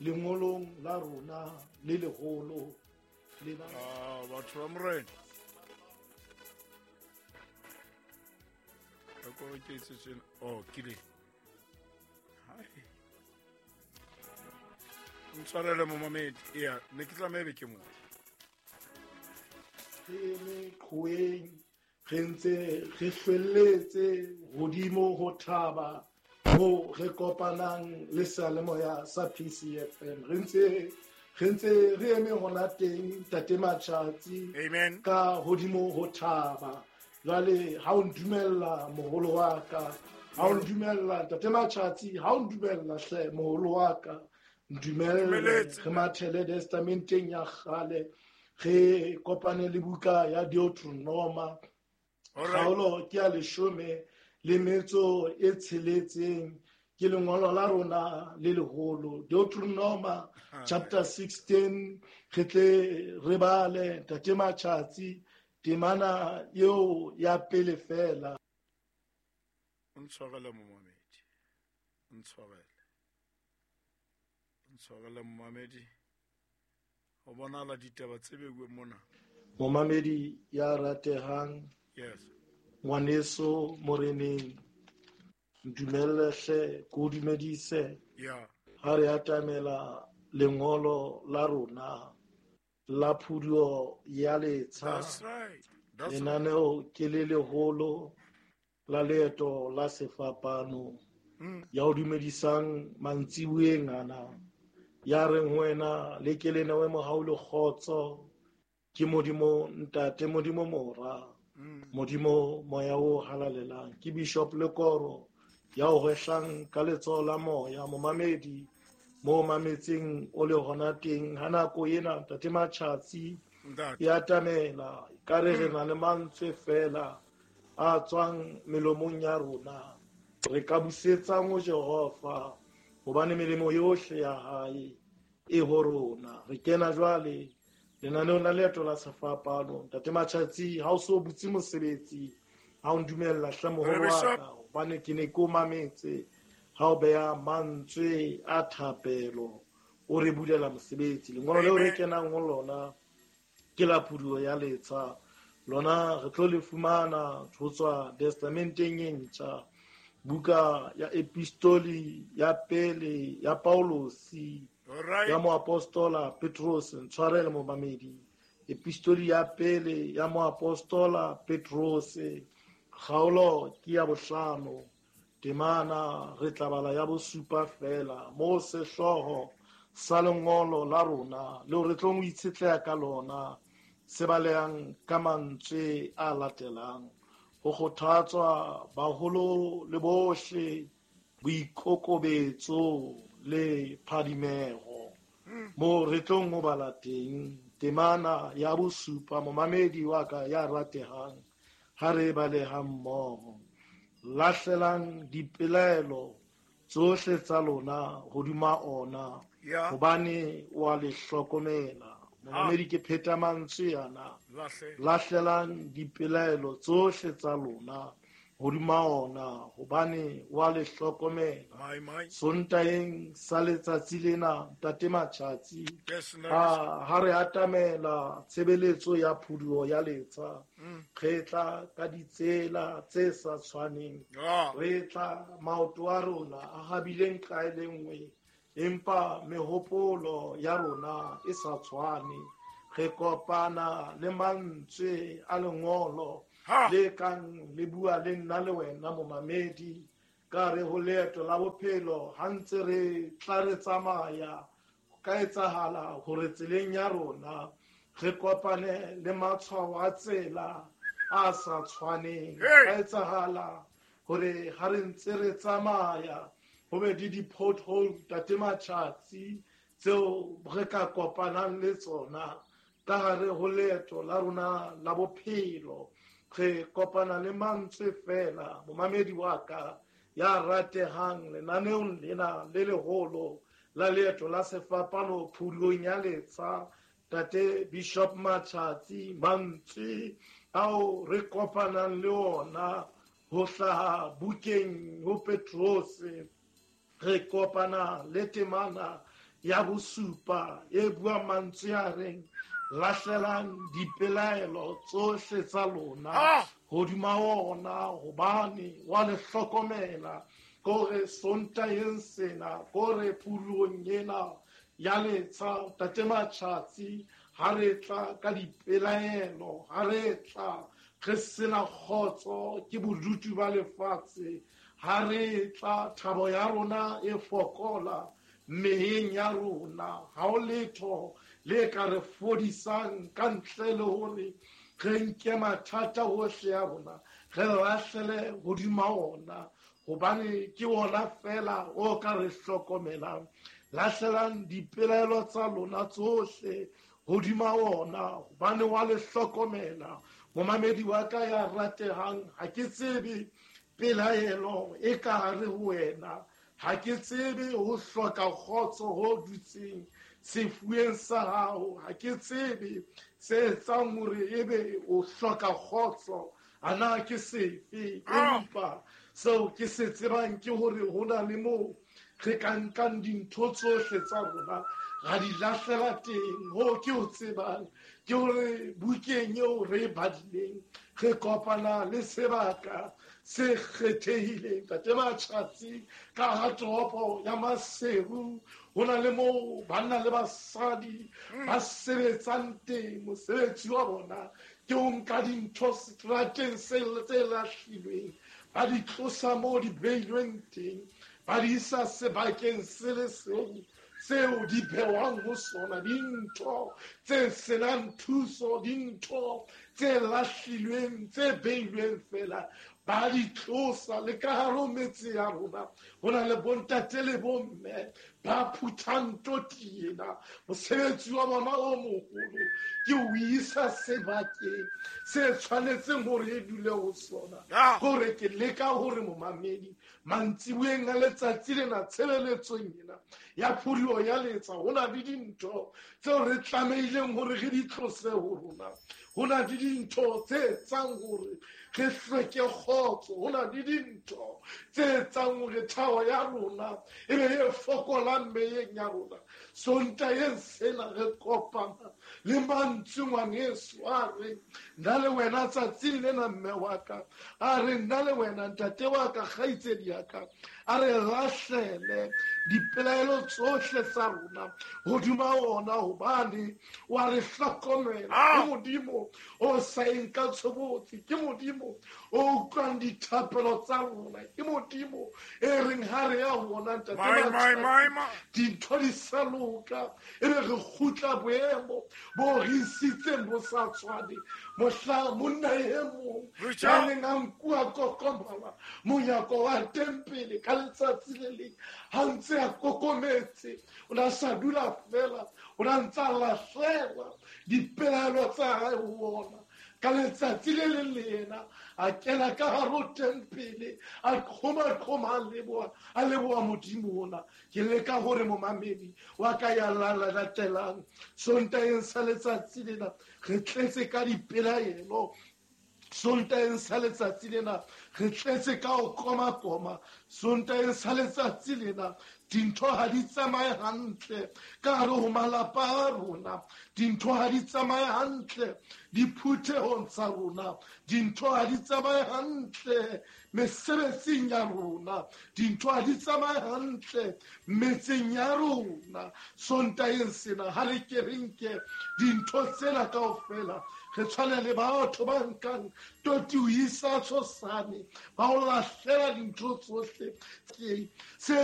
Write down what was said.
Lengolong la rona le leholo le la Batho ba Morena. Ka ko ke etse tjena. Oh, ke le. Hai. Ntshwarele momamedi. Eya, ne ke tlameha ebe ke mo. Re eme qhoweng, re ntse re hlwelletse hodimo ho thaba mo re kopanang le seyalemoya sa PCFM. Re ntse re eme hona teng, Ntate Matjhatsi. Amen. Ka hodimo ho thaba. Jwale ha o ndumella, moholo wa ka, ha o ndumella, Ntate Matjhatsi, ha o ndumella hle, moholo wa ka, ndumelle Dumeletse. re mathele testamenteng ya kgale, re kopane le buka ya Deuteronoma. All right. Kgaolo ke ya 16, ke lengolo la rona le leholo, Deuteronoma chapter 16. Re tle re bale, Ntate Matjhatsi, temana eo ya pele fela. O ntshwarele, momamedi. O ntshwarele. O ntshwarele, momamedi. Ho bonahala ditaba tse beuweng mona. Momamedi ya ratehang, ngwaneso moreneng, ntumelle hle ke o dumedise ha re atamela lengolo la rona la phuduo ya letsha. That's right. That's right. Lenaneo ke le leholo la Leeto la Sefapano. Ya o dumedisang mantsibueng ana, ya reng ho wena le ke le newe mohau le kgotso ke Modimo Ntate, Modimo Mora, Modimo Moya o Halalelang. Ke Bishop Lekoro ya o hwehlang ka letsoho la moya, momamedi mo mametseng o le hona teng ha nako ena, Ntate Matjhatsi, Ntate. e atamela ka re re na le mantswe fela a tswang melomong ya rona re ka busetsang ho Jehova, hobane melemo yohle ya hae e ho rona. Re kena jwale lenaneong la Leeto la Sefapano. Ntate Matjhatsi, ha o so butse mosebetsi, ha o ndumella hle, moholo wa Bishop. ka, hobane ke ne ke o mametse ha o beha mantswe a thapelo, o re bulela mosebetsi. Lengolo leo re Amen. kenang ho lona ke la phuduo ya letsha. Lona re tlo le fumana ho tswa testamenteng e ntjha, buka ya epistoli ya pele ya Paulosi All right. ya moapostola Petrus. Ntshwarele, momamedi, epistoli ya pele ya moapostola Petrus, kgaolo ke ya 5, temana re tla bala ya 7 fela, mo sehlooho sa lengolo la rona leo re tlong ho itshetleha ka lona se balehang ka mantswe a latelang: ho kgothatswa baholo le bohle boikokobetso le phadimeho. Mo re tlong ho bala teng temana ya 7, momamedi wa ka ya ratehang, ha re baleha mmoho: lahlelang dipelaelo tsohle tsa lona hodima ona, hobane wa le hlokomela. Momamedi, ke pheta mantswe ana: Lahle. lahlelang dipelaelo tsohle tsa lona hodima ona, hobane wa le hlokomela. My, my. Sontaeng sa letsatsi lena, Ntate Matjhatsi, Yes, Ntate. ha re atamela tshebeletso ya phuduo ya letsha, re tla ka ditsela tse sa tshwaneng. Re tla maoto a rona a habileng nqa e le nngwe, empa mehopolo ya rona e sa tshwane. Re kopana le mantswe a lengolo le kang le bua le nna le wena, momamedi, ka re ho leeto la bophelo. Ha ntse re tla re tsamaya, ho ka etsahala hore tseleng ya rona re kopane le matshwao a tsela a sa tshwaneng. Hey! Ka etsahala hore ha re ntse re tsamaya ho be le di-pothole, Ntate Matjhatsi, tseo re ka kopanang le tsona ka hare ho leeto la rona la bophelo. Re kopana le mantswe fela, momamedi wa ka ya ratehang, lenaneong lena le leholo la Leeto la Sefapano, phulong ya letsha, Tate Bishop Matjhatsi, mantswe ao re kopanang le ona ho hlaha bukeng ho Petrose, re kopana le temana ya bosupa e bua mantswe a reng lahlelang dipelaelo tsohle tsa lona hodima ona hobane wa le hlokomela. Kore Sontaheng sena, kore phuduong ena ya letsha, Ntate Matjhatsi, ha re tla ka dipelaelo, ha re tla re sena kgotso ke bodutu ba lefatshe, ha re tla thabo ya rona e fokola meyeng ya rona, ha ho letho le ka re fodisang ka ntle le hore re nke mathata ohle a rona re lahlele hodima ona, hobane ke ona fela o ka re hlokomelang. Lahlelang dipelaelo tsa lona tsohle hodima ona, hobane wa le hlokomela. Momamedi wa ka ya ratehang, ha ke tsebe pelaelo e ka hare ho wena, ha ke tsebe ho hloka kgotso ho dutseng sefueng sa hao, ha ke tsebe se etsang hore ebe o hloka kgotso, ana ke sefe, empa seo ke se tsebang ke hore ho na le moo re ka nkang dintho tsohle tsa rona ra di lahlela teng. Ho ke o tsebang ke hore bukeng eo re e badileng re kopana le sebaka se kgethehileng. Ntate Matjhatsi, ka ha toropo ya Maseru ho na le moo banna le basadi ba sebetsang teng. Mosebetsi wa bona ke ho nka dintho seterateng tse lahlilweng, ba di tlosa moo di beilweng teng, ba di isa sebakeng se le seng seo di behwang ho sona. Dintho tse senang thuso, dintho tse lahlilweng, tse beilweng fela, ba di tlosa. Le ka hare ho metse ya rona ho na le bontate le bomme ba phuthang toti ena. Mosebetsi wa bona o moholo ke ho isa sebakeng se tshwanetseng hore e dule ho sona. Hore ke leka hore momamedi mantsiboeng a letsatsi lena, tshebeletsong ena ya phuduo ya letsa, ho na le dintho tseo re tlamehileng hore re di tlose ho rona. Ho na le dintho tse etsang hore re hlweke kgotso, ho na le dintho tse etsang hore thabo ya rona e be e fokolang meyeng ya rona. Sontaheng sena re kopana le mantswe ngwaneso a reng nna le wena tsatsing lena, mme wa ka, a re nna le wena ntate wa ka, kgaitsedi ya ka, a re lahlele dipelaelo tsohle tsa rona hodima ona, hobane wa re hlokomela. Ke Modimo o sa eng ka tshobotsi, ke Modimo o utlwang dithapelo tsa rona, ke Modimo e reng ha re ya ho ona ntate dintho di sa loka, e be re kgutla boemo bo re isitseng bo sa tshwane. Mohla monna e mong ya neng a nkuwa kokomala monyako wa tempele ka letsatsi le leng, ha ntse a kokometse, o na sa dula fela, o na ntse a lahlela dipelaelo tsa hae ho ona. Ka letsatsi le leng le yena a kena ka hare ho tempele, a qhoma-qhoma, a leboha Modimo ona. Ke leka hore momamedi wa ka ya latelang Sontaheng sa letsatsi lena re tletse ka dipelaelo, Sontaheng sa letsatsi lena re tletse ka ho koma-koma, Sontaheng sa letsatsi lena dintho ha di tsamaye hantle ka hare ho malapa a rona, dintho ha di tsamaye hantle diphuthehong tsa rona, dintho ha di tsamaye hantle mesebetsing ya rona, dintho ha di tsamaye hantle metseng ya rona. Sontaheng sena ha re ke re nke dintho tsena kaofela, re tshwane le batho ba nkang toti ho isa tshosane, ba o lahlela dintho tsohle se.